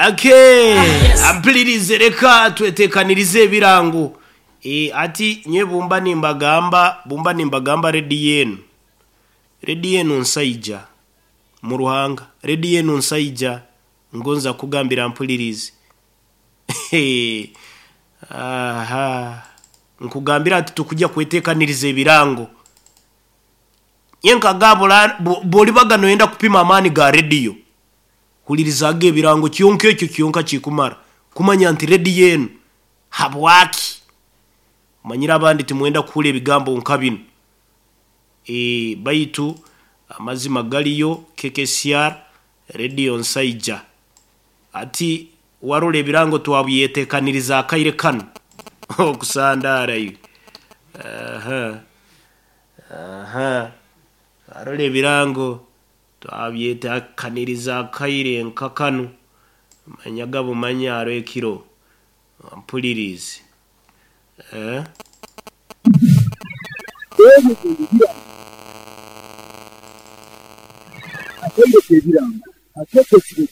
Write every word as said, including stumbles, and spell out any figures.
Ake ampulirize, reka twetekanirize ebirango. E, ati nye bumba nimbagamba, bumba nimbagamba rediyo enu, rediyo enu nsaija mu ruhanga, rediyo enu nsaija ngonza kugambira mpulirize. Aha, nkugambira ati tukujja kwetekaniriza ebirango. Nyenkagabula bolibaga noyenda kupima amaani ga rediyo, hulirizaga ebirango kyonka, ekyo kyonka kikumara kumanya nti rediyo enu habwaki. Manyire abandi timwenda kuhura ebigambo nka binu. E, baitu amazima galiyo K K C R rediyo nsaija. Ati warora ebirango twabyetekaniriza akaire kanu okusandara iwe. Aha, aha, arora ebirango twabyetekaniriza akaire nka kanu, manyaga bumanya aro ekiro mpulirize, eh? Akaire k'ebirango akekesire.